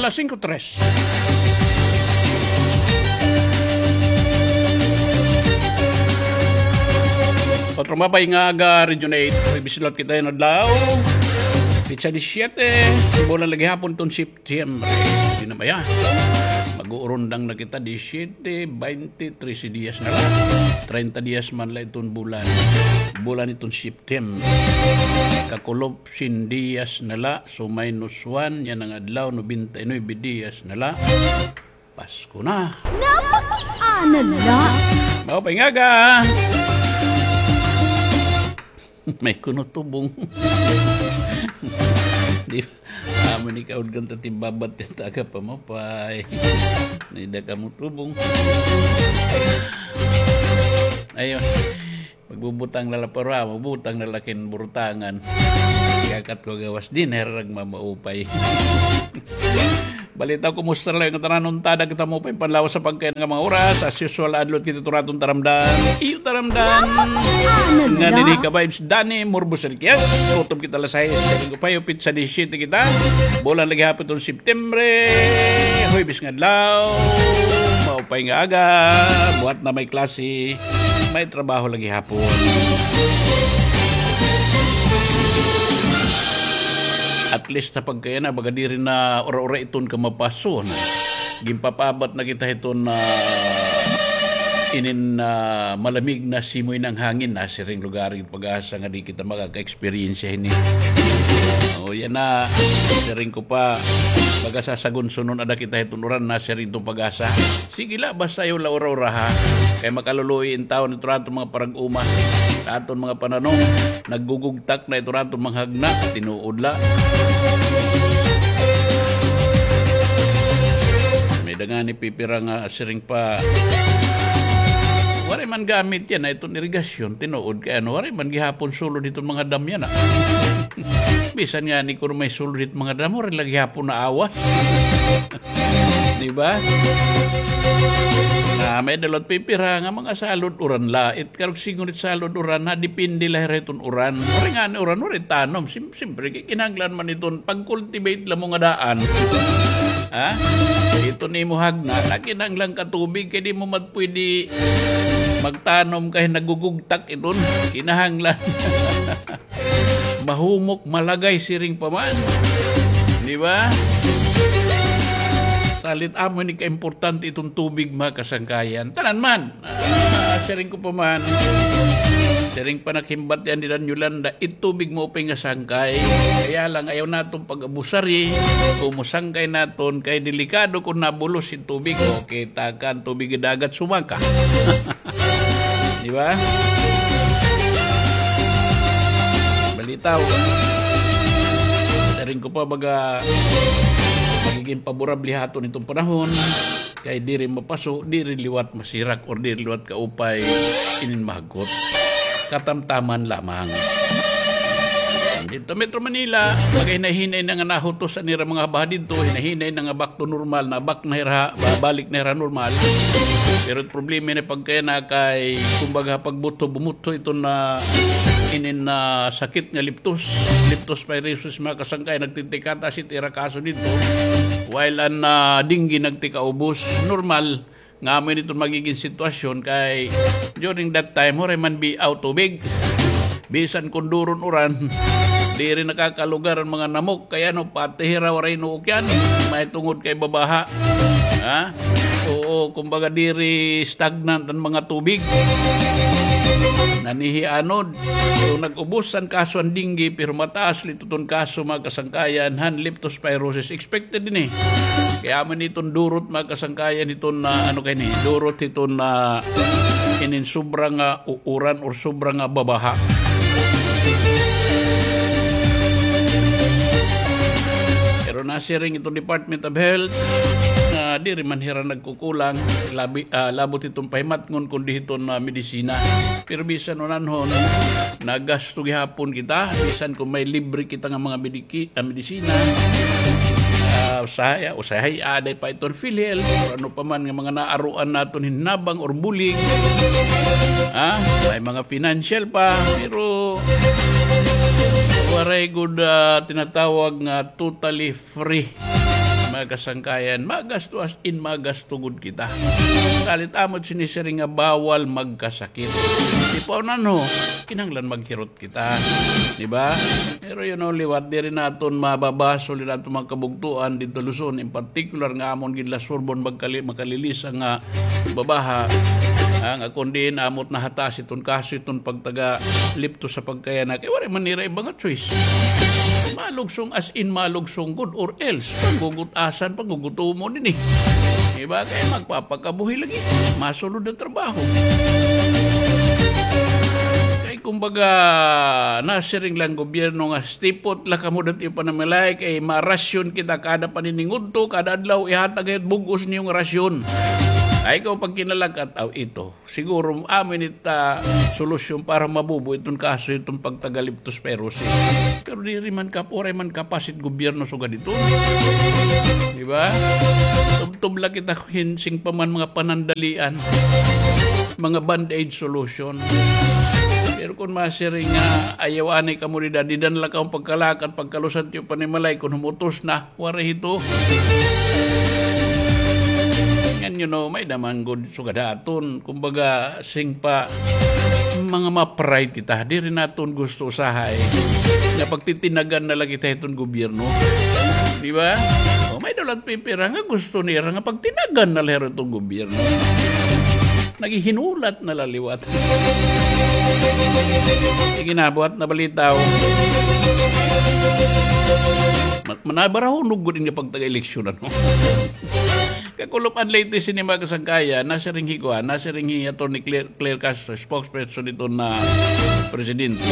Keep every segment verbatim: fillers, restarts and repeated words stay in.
Las singko tres. Otro maupay nga aga, Region eight. May bisilot kita yana nga adlaw. Petsa disisyete, bulan la gihapon iton September. Di na maya. Mag-uurundang na kita, disisyete, baynte, trese diyas na la. Treinta diyas man la iton bulan. Bulan iton September. Kakulop, syen diyas na la, so minus one, yana nga adlaw, nobenta y nuebe diyas na la. Pasko na. Napakiana la. Maupay nga aga. May kuno tubong. Di ba? Amo ni kaudgan ta timbabat ti taga pamaupay. Nida kamo tubong. Ayun. Magbubutang na la para, magbutang na la kin burutangan. Kakat ko gawas, di na rag mamaupay. Balita, kumusta la nga tanan? Untada kita maupay panlawas sa pagkain nga mga oras. As usual, adlot kita turaton taramdan. Iyo taramdan. Nga nini ka vibes, Danny Morbos Enriquez. Kutob kita alas sais, siring ko pa, petsa disisyete kita. Bulan la gihapon iton September. Huwebes nga adlaw. Maupay nga aga. Buhat na may klase. May trabaho la gihapon. At least sa pagkayana, baga diri na ura-ura iton kamapaso na. Ginpapaabat na kita hiton, ah, inin, ah, malamig na simoy ng hangin na siring lugar it PAGASA nga di kita makaka-experience hini. O, yana, siring ko pa, baga sa sagunsunon ada kita hiton uran na siring iton PAGASA. Sige la, basta ayaw la ura-ura, ha. Kay makaluluoy in tawo hito raton mga parag-uma, aton mga pananom, naggugugtak na ito raton mga hagna, tinuod la. May da ngani pipira nga siring pa, waray man gamit yana iton irigasyon, tinuod kay ano, waray man gihapon sulod hiton mga dam yana. Bisan ngani kuno may sulod hit mga dam, waray la gihapon naawas. Di ba? Na may da la pipira nga mga salod uran la. It karuyag siring it salod uran na depende la hira hiton uran. Waray ngani uran, waray tanom. Sim-, simpre, kay kinahanglan man iton pag-cultivate la mo nga daan. Ha? Iton imo hagna, na kinahanglan ka tubig, kay di mo mat-, pwede magtanom kay nagugugtak iton. Kinahanglan. Mahumok, malagay, siring pa man. Di ba? Salit amo ini kaimportante iton tubig, mga kasangkayan. Tanan man. Ah, siring ko pa man. Siring pa naghimbat yana ni Dan Yolanda, it tubig maupay nga sangkay. Kaya lang, ayaw naton pag-abusari. Kung mosangkay naton, kay delikado kon nabulos it tubig. Okay, takan tubig dagat sumaka. Di ba? Balitaw. Siring ko pa baga magiging paborable ha aton iton panahon. Kay diri mapaso, diri liwat masirak, or diri liwat kaupay inin mahagkot. Katamtaman lamang. Didto Metro Manila, maghinay-hinay na nga nahutos an ira mga baha didto, hinay-hinay na nga back to normal, na back na hira, babalik na hira normal. Pero it problema na pagkayana kay, kumbaga, pagbutho, bumutho iton inin sakit nga leptos, leptospirosis, mga kasangkay, nagtitikataas it ira kaso didto. While an, ah, dengue nagtikaubos, normal nga amo ini iton magiging sitwasyon kay during that time, waray man biaw tubig. Bisan kon duro an uran, diri nakakalugar an mga namok. Kay ano, pati hira waray nuok yana. Mahitungod kay babaha. Ha? Oo, kumbaga diri stagnant an mga tubig. Nanihianod. So, nag-ubos an kaso an dengue, pero mataas la iton kaso, mga kasangkayan, han leptospirosis. Expected ini. Kay amo ini iton durot, mga kasangkayan, iton, ah, ano kay ini, durot iton, ah, inin sobra nga u-, uran or sobra nga babaha. Pero nasiring iton Department of Health nga diri man hira nagkukulang, labi, ah, labot iton pahimatngon kundi hiton, ah, medisina. Pero bisan unanhon, nagasto gihapon kita, bisan kon may libre kita nga mga mediki-, ah, medisina. Ah, usahay, usahay, aada pa iton PhilHealth, or ano pa man nga mga naaruan naton hinabang or bulig. Ha? May mga financial pa, pero waray gud, ah, tinatawag nga totally free. Mga kasangkayan, magasto as in magasto gud kita. Kalit amo it sinisiring nga bawal magkasakit. Ipaunanho, kinahanglan maghirot kita. Di ba? Pero you know, liwat, diri naton mababasol, diri naton mga kabugtuan didto Luzon, in particular nga amon gid la surbon magkali-, makalilisa nga babaha, ah, nga kun diin amo it nahataas iton kaso iton pagtaga lepto sa pagkayana, kay waray man nira iba nga choice. Malugsong as in malugsong gud or else, panggugut-asan, panggugutomon ini. Di ba? Kay magpapakabuhi lagi. Masulod na trabaho. Kay kumbaga, nasiring la an gobyerno nga stipot la kamo didto ha iyo panimalay, kay marasyon kita kada paniningudto, kada adlaw ihatag hit bug-os niyo nga rasyon. Ay, ikaw pagkinalakat, aw, ito. Siguro, amo ini it, ah, solusyon para mabubo iton kaso iton pagtaga leptospirosis. Pero diri man kap-, waray man kapas it gobyerno sugad hiton. Di ba? Tubtob la kita hin sing pa man mga panandalian, mga band-aid solution. Pero kun masiring nga ayaw anay kamo dida, dida na la kamo pagkalakat, pagkalusad it iyo panimalay, kun humutos na, waray hito. Ngan, you know, may-ada man gud sugad ha aton. Kumbaga, sing pa, mga ma-pride kita. Diri naton gusto usahay nga pagtitinagan na la kita hiton gobyerno. Di ba? O, may-ada la pipira nga gusto nira nga pagtinagan na la hiton gobyerno. Naghihinulat na la liwat. Sige na, buhat na balita, o. Ma-, manabarahunong gud ini nga pagtaga-eleksyon, ano? Kakulop an latest ini, mga kasangkayan, nasiring hi kuan, nasiring hi Attorney Claire, Claire Castro, spokesperson hiton presidente,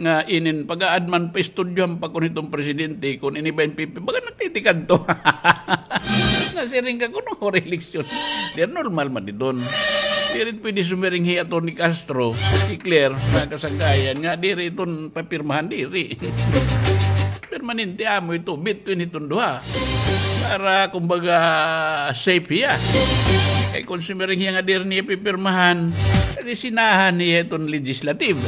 nga inin pag-aadman pa, istudyohan pa kun hiton presidente, kun ini ba in pipi-, baga nagtitikadto. Nasiring ka kun waray eleksyon. Di, normal man iton. Diri pwede sumiring hi Attorney Castro, hi Claire, mga kasangkayan, nga diri iton papirmahan, diri. Permanente amo ito, between hiton duha. Para, kumbaga, safe hiya. Kay kun sumiring hiya nga diri niya pipirmahan, kay sinahan hiya hiton legislative.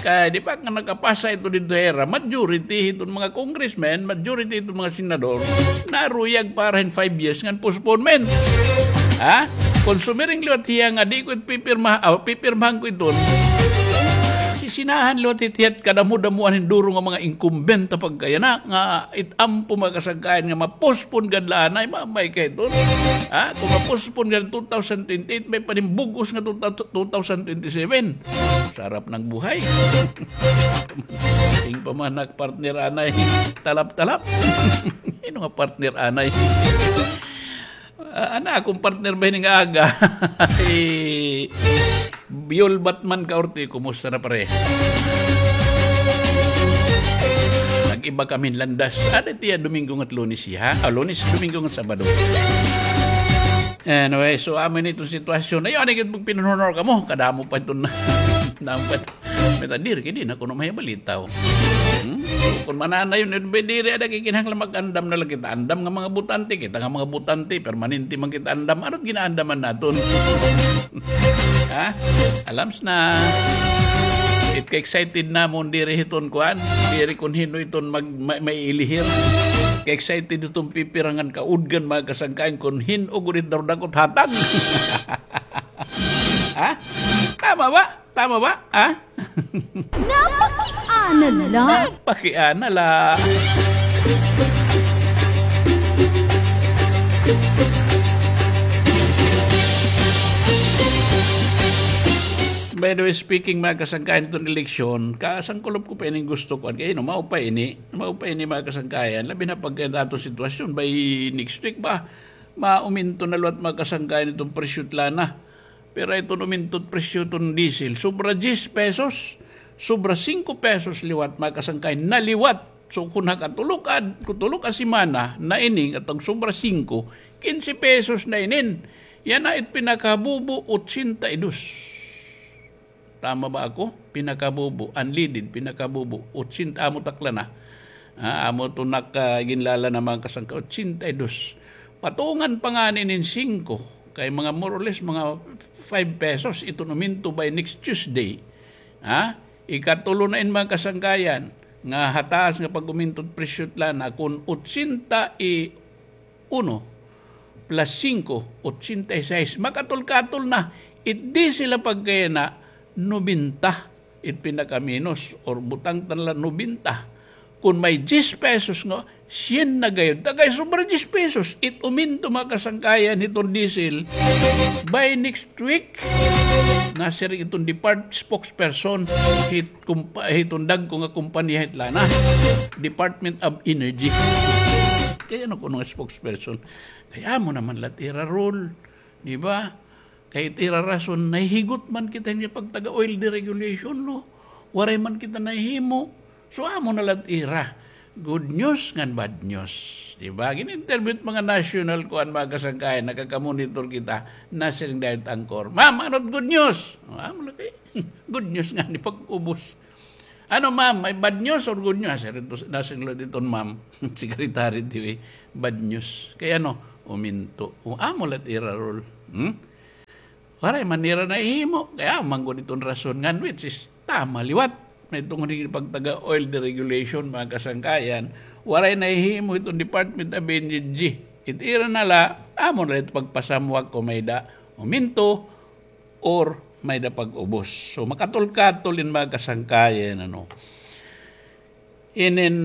Kay di pa nga nakapasa ito didto ha ira, majority hiton mga congressmen, majority hiton mga senador, naruyag para hin five years ngan postponement. Ha? Kun sumiring liwat hiya nga di ko it pipirma-, aw, pipirmahan ko iton, sisinahan liwat hit hiya it kadamo-damoan hin duro nga mga incumbent ha pagkayana nga it ampo, mga kasangkayan, nga ma-postpone gad la anay, mamay ka iton. Ha? Kun ma-postpone gad two thousand twenty-eight, may pa hin bug-os nga two thousand twenty-seven. Sarap ng buhay. Sing pa man ak partner anay. Talap-talap. Hin-o nga partner anay? Ah, ana, akon partner ba ini nga aga? Eh, Biol Batman Kaorte, kumusta na, pare? Nag-iba kami hin landas. Ada tiya Domingo ngat Lunes, ha? Ah, Lunes, Domingo ngat Sabado. Anyway, so, amo ini iton sitwasyon. Ayaw anay gud pagpinunhunor kamo. Kadamo pa iton, kadamo pa iton. May ta diri, kay di na kuno mahibalitaw. Hmm? So, kun mananayon, eh, diri, ada kay kinahanglan mag-andam na la kita. Andam nga mga botante, kita nga mga botante, permanente man kita andam. Ano it ginaandaman naton? Ha? Alams na. It ka-excited namon diri hiton kuan. Diri kun hin-o iton mag-, ma-, maiilihir. Ka-excited hiton pipira ngan kaudgan, mga kasangkayan, kun hin-o gud it darudakot hatag. Ha? Tama ba? Tama ba? Ha? Napakiana la. Napakiana la. By the way, speaking, mga kasangkayan, iton eleksyon, kasangkulop ko pa ining gusto ko. Kay, no, mao pa ini, mao pa ini, mga kasangkayan. Labi na pagka aton sitwasyon, by next week ba, mauminto na liwat, mga kasangkayan, iton presyo it lana. Pero iton uminto it presyo iton diesel, sobra diyes pesos, sobra singko pesos liwat, mga kasangkay, na liwat. So, kun ha katulo ka, katulo ka semana na ini, katong sobra singko, kinse pesos na inin. Yana it pinakabubo, otsenta y dos. Tama ba ako? Pinakabubo, unleaded, pinakabubo, otsenta, amo takla na. Ah, amo tunak, ah, ginlala na, mga kasangka, otsenta y dos. Patungan pa ngani nin singko, kay mga more or less mga five pesos iton uminto by next Tuesday. Ha? Ikatulo na in, mga kasangkayan, nga hataas nga pag-uminto it presyo it lana, kun otsenta y uno plus singko, otsenta y sais. Makatol-katol na. It diesel la pagkayana, nobenta. It pinakaminos, or butang ta na la nobenta. Kon may diyes pesos nga, syen na gayod. Ta kay sobra diyes pesos. It uminto, mga kasangkayan, hiton diesel. By next week, nasiring iton depart-, spokesperson, hit kumpa-, hiton dagko nga kompanya hit lana. Department of Energy. Kay ano kuno nga spokesperson? Kay amo naman la it ira role, di ba? Kay it ira rason, nahihigot man kita hin pagtaga oil deregulation law. Waray man kita nahihimo. So, amo na la it ira. Good news ngan bad news. Di ba? Gin-interview it mga national kuan, mga kasangkayan, nakaka-monitor kita, nasiring dayon it anchor, "Ma'am, ano it good news?" O, amo la kay, good news ngani pag-ubos. "Ano, ma'am, may bad news or good news?" Nasiring to, nasiring la iton ma'am, secretary, di ba? "Bad news." Kay ano, uminto. O, amo la it ira role. Hmm? Waray man nira nahihimo. Kay amo man gud iton rason ngan, which is tama liwat. Mahitungod hin pagtaga oil deregulation, mga kasangkayan. Waray nahihimo iton Department of Energy. It ira na la, amo na la it pagpasamwak kon may-ada uminto or may-ada pag-ubos. So, makatol-katol in, mga kasangkayan, ano. Inin,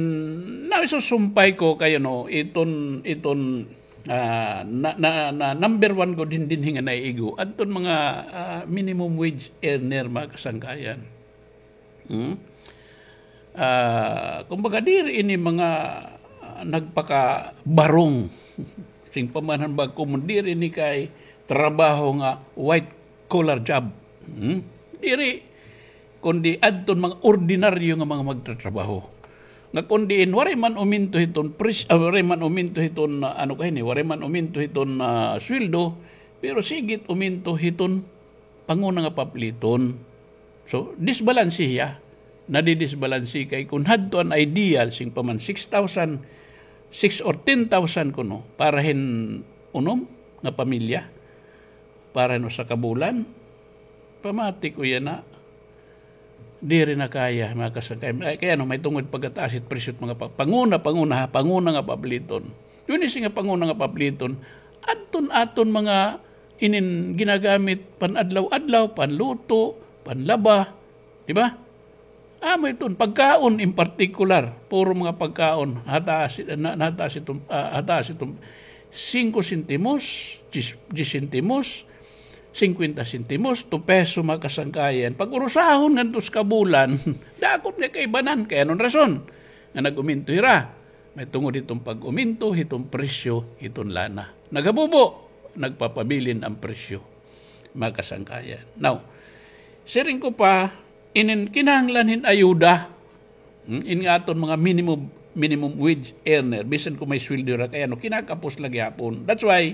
na, isusumpay ko kay, ano, iton, iton, ah, na, na, na, number one gud hin dinhi nga naiigo, adton mga, ah, minimum wage earner, mga kasangkayan. Hmm? Ah, kumbaga, diri ini mga, ah, nagpakabarong. Sing pamanahan ba, kung diri ini kay trabaho nga white collar job. Hmm? Diri, kundi adton mga ordinaryo nga mga magtatrabaho. Nga kundi in waray man uminto hiton pres-, ah, waray man uminto hiton, ah, ano kay ni, waray man uminto hiton, ah, sweldo, pero sige it uminto hiton panguna nga papliton. So, disbalanse hiya. Nadidisbalanse kay kun hadto an ideal, sing pa man six thousand, six or ten thousand kuno, para hin unom nga pamilya, para hin usa ka bulan, pamati ko yana, diri na kaya, mga kasangkay. Ay, kay ano, mahitungod pagkataas it presyo it mga pa-, panguna, panguna, ha, panguna nga papliton. Yun is nga panguna nga papliton, adton aton mga inin ginagamit pan-adlaw-adlaw, panluto, panlaba, di ba? Amo iton, pagkaon in particular, puro mga pagkaon, hataas, na, nataas iton, ah, hataas iton singko sentimos, diyes, diyes sentimos, singkwenta sentimos, two peso, mga kasangkayan. Pag-urusahon ngadto sa kabulan, dako nga kaibanan, kay ano an rason nga nag-uminto hira? Mahitungod hiton pag-uminto hiton presyo hiton lana. Naghabubo, nagpapabilin an presyo, mga kasangkayan. Now, siring ko pa, inin kinahanglan hin ayuda. Hmm, in nga aton mga minimum, minimum wage earner, bisan kon may sweldo hira kay ano, kinakapos la gihapon. That's why,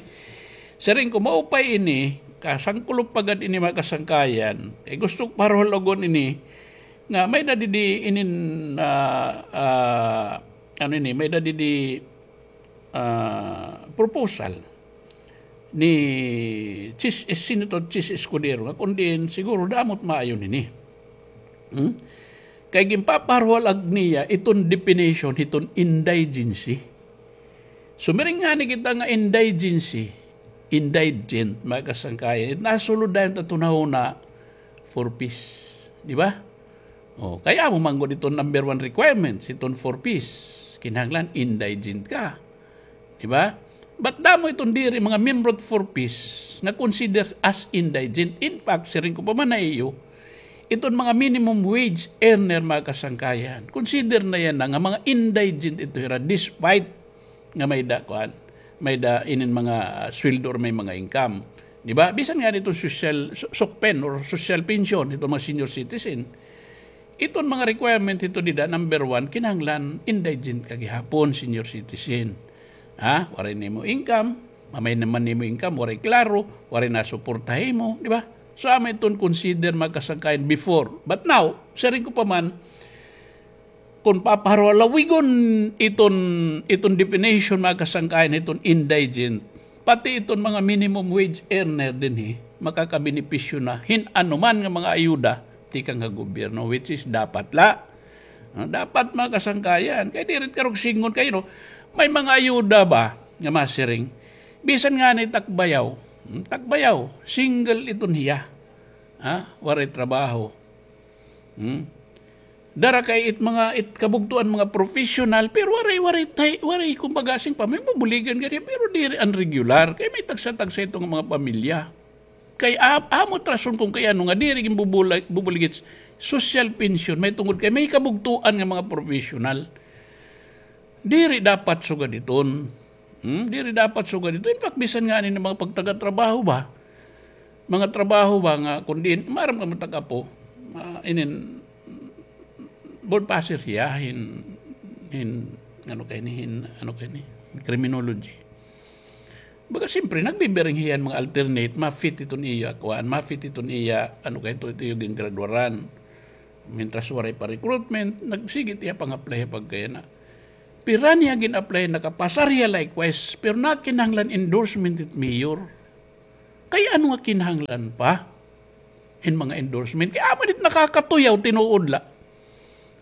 siring ko, maupay ini, kasangkulop pa gad ini, mga kasangkayan. Kay gusto ko paruhal-ugon ini, nga may-ada didi inin, ah, ah, ano ini, may-ada didi, ah, proposal ni Chis, Senator Chis Escudero, nga kon diin siguro damo it maayo nini. Hmm? Kay ginpaparuhal-ag niya iton definition hiton indigency. Sumiring ngani kita nga indigency, indigent, mga kasangkayan. It nasulod dayon ta tunahuna, four Ps. Di ba? O, kay amo man gud iton number one requirements, iton four Ps. Kinahanglan indigent ka. Di ba? But damo iton diri mga miyembro it four Ps nga consider as indigent. In fact, siring ko pa man ha iyo, iton mga minimum wage earner, mga kasangkayan, consider na yana nga mga indigent ito hira despite nga may-ada, kuan, may-ada inin mga, ah, sweldo or may mga income. Di ba? Bisan ngani iton social, su-, SOCPEN or social pension, iton mga senior citizen. Iton mga requirement hito dida, number one, kinahanglan indigent ka gihapon, senior citizen. Ha? Waray nimo income, mamay naman nimo income, waray klaro, waray nasuporta ha imo, di ba? So, amo iton consider, mga kasangkayan, before. But now, siring ko pa man, kon paparuhal-ugon iton, iton definition, mga kasangkayan, iton indigent, pati iton mga minimum wage earner dinhi, makakabenepisyo na hin anuman nga mga ayuda tikang ha gobyerno, which is dapat la. Ah, dapat, mga kasangkayan. Kay diri it karuyag sidngon kay, no, may mga ayuda ba? nga masiring. Bisan ngani Tacbayaw, hmm, Tacbayaw, single iton hiya. Ha? Waray trabaho. Hmm? Dara kay it mga, it kabugtoan mga professional, pero waray, waray tay-, waray kumbaga sing pamilya, bubuligan gani, pero diri an regular. Kay may tagsa-tagsa ito nga mga pamilya. Kay a-, amo it rason kon kay ano nga diri ginbubula-, bubuligit social pension, may tungod kay may kabugtoan nga mga professional. Diri dapat sugad iton. Hmm? Diri dapat sugad iton. In fact, bisan ngani nga mga pagtaga-trabaho ba? Mga trabaho ba nga, kun diin, maaram ka matag-apo, ah, inin, board passer hiya, hin, hin, ano kay ni, hin, ano kay ni, criminology. Baga, siyempre, nagbibiring hiya hin mga alternate, ma-fit iton iya, kuan, ma-fit iton iya, ano kay ito, ito yung gingradwaran. Mientras waray pa recruitment, nagsige hiya pang-apply pagkaya na. Pira niya gin-apply, nakapasar hiya likewise, pero nakinahanglan endorsement it mayor. Kay ano nga kinahanglan pa hin mga endorsement? Kay amo ini it nakakatuyaw, tinuod la.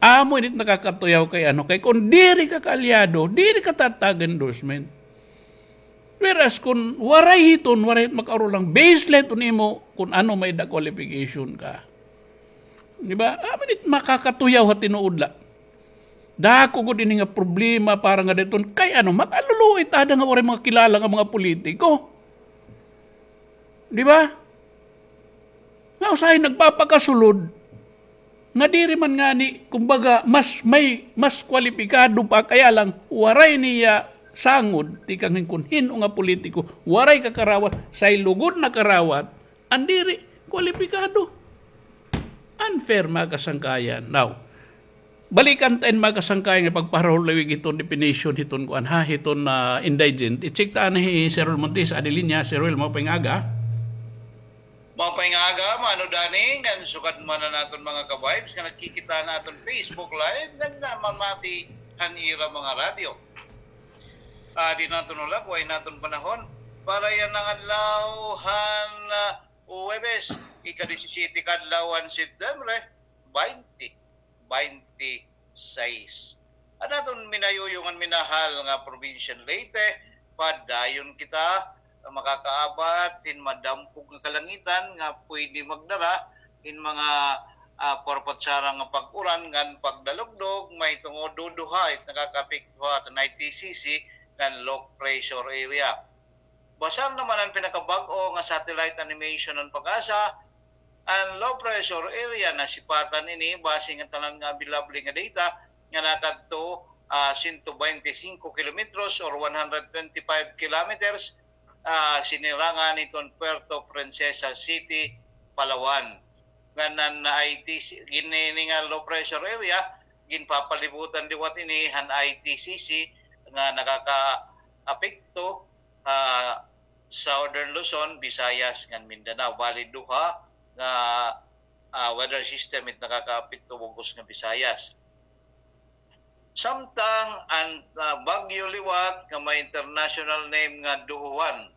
Amo ini it nakakatuyaw kay ano, kay kun diri ka kaalyado, diri ka tatag endorsement. Whereas kun waray hiton, waray hit makaurol lang, base la hiton imo kun ano may da qualification ka. Di ba? Amo ini it makakatuyaw ha tinuod la. Dako gud ini nga problema para nga dayton. Kay ano, mag-aluluoy ta ada nga waray mga kilala nga mga politiko. Di ba? Nga usahay nagpapakasulod nga diri man ngani, kumbaga, mas may, mas kwalipikado pa, kaya lang waray niya sangod, tikang hin kun hin-o nga politiko, waray kakarawat, say lugod nakarawat, an diri kwalipikado. Unfair, mga kasangkayan. Now, balikan ta in, mga kasangkayan, nga pagpaharulawig hiton definition hiton kuan, ha, hiton, ah, indigent. I-check ta anay hi Sir Roel Montes, adi linya. Sir Roel, maupay nga aga. Maupay nga aga, Mano Danny, ngan sugad man an aton mga ka-vibes nga nagkikita han aton Facebook Live, ngan namamati han ira mga radyo. Ah, di naton ulagway an aton panahon para yana nga adlaw han, ah, Huwebes, ika-disisyete ka adlaw han September, baynte baynte sais. An aton minayuyong ngan minahal nga probinsya han Leyte, padayon kita makakaabat hin madampog nga kalangitan nga pwede magdara hin mga, ah, purputsara nga pag-uran ngan pagdalugdog, mahitungod duduha it nakakaapekto ha aton I T C C ngan low pressure area. Basar naman an pinakabag-o nga satellite animation han PAGASA, an low pressure area, nasipatan ini base nga tanan nga available nga data nga nakadto, ah, siyento baynte singko kilometros or one hundred twenty-five kilometers, ah, sinirangan hiton Puerto Princesa City, Palawan. Ngan an I T C, gin-, ini nga low pressure area, ginpapalibutan liwat ini han I T C C nga nakakaapekto ha Southern Luzon, Visayas, ngan Mindanao. Bali, duha nga, ah, weather system it nakakaapekto bug-os nga Visayas. Samtang an, ah, bagyo liwat nga may international name nga Duhuan,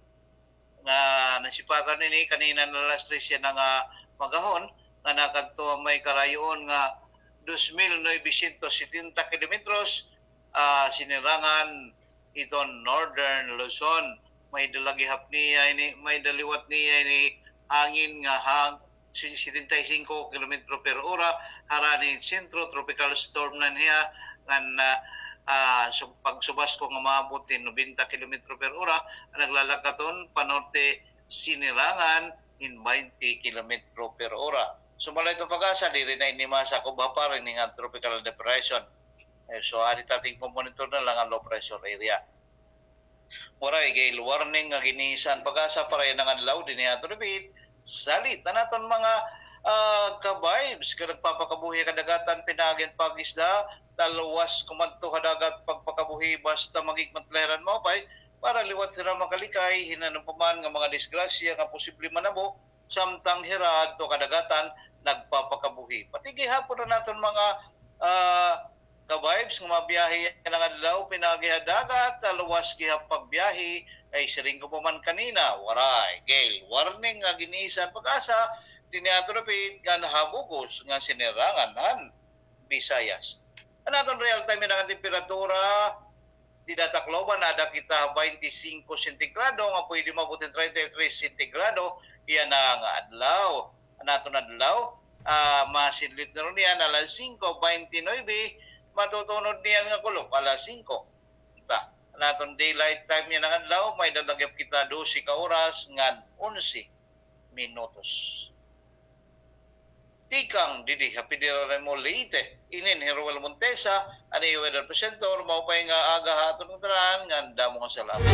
nga nasipatan ini kanina nga alas tres yana nga maghapon, nga nakadto ha may karayoon nga dos mil novecientos setenta kilometros, ah, sinirangan iton Northern Luzon. May-ada la gihap niya ini, may-ada liwat niya ini hangin nga hang-, si-, setenta y cinco kilometro per ora, harani sentro tropical storm na niya, ngan, ah, ah, su-, pagsubasko nga maabot hin nobenta kilometro per ora, naglalakaton panorte sinirangan hin baynte kilometro per ora. Sumala iton PAGASA, diri na ini masakob ha par ini nga tropical depression. Eh, so, adi ta tigpamonitor na lang an low pressure area. Waray gale warning nga gin-iisa an PAGASA para yana nga adlaw dinhi ha aton dapit. Salit an aton mga, ah, ka-vibes nga nagpapakabuhi ha kadagatan, pinaagi han pag-isda, talwas kumadto ha dagat pagpakabuhi basta maghigugma la hira hin maupay para liwat hira makalikay hin ano pa man nga mga disgrasya nga posible manabo samtang hira adto ha kadagatan nagpapakabuhi. Pati gihapon an aton mga, ah, ka-vibes nga mabiyahe yana nga adlaw pinaagi ha dagat, talwas gihap pagbiyahe, kay siring ko pa man kanina, waray gale warning nga gin-iisa an PAGASA dinhi ha aton dapit ngan ha bug-os nga sinirangan han Visayas. An aton real time yana nga temperatura, Dida Tacloban, ada kita twenty-five sentigrado, nga pwede maabot hin thirty-three sentigrado, yana nga adlaw. An aton adlaw, ah, masidlit na runo niyan, alas singko twenty-nine, matutunod niyan nga kulop, alas singko. Ta, an aton daylight time yana nga adlaw, may-ada la gihap kita dose ka oras ngan onse minutos. Tikang didi ha Federal Remo Leyte, ini hi Roel Montesa, an iyo weather presenter, maupay nga aga ha aton ngatanan, ngan damo nga salamat.